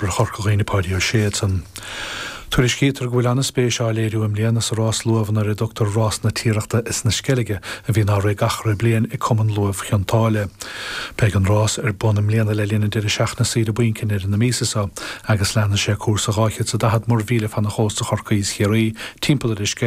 Reporter Chorca Dhuibhne Páidí Ó Sé ansan. Tuairiscítear go bhfuil an-spéis á léiriú i mbliana sa rás luamhanna ar a dtugtar Rás na Tiarachta is na Sceilge a bhíonn á rith gach re bliain ag Cumann Luaimh Chionn tSáile. Beidh an rás ar bun i mbliana le linn an deireadh seachtaine saoire bainc i ndeireadh na míosa seo agus leanfaidh sé cúrsa 240 muirmhíle fan chósta Chorcaí is Chiarraí timpeall ar an Sceilg.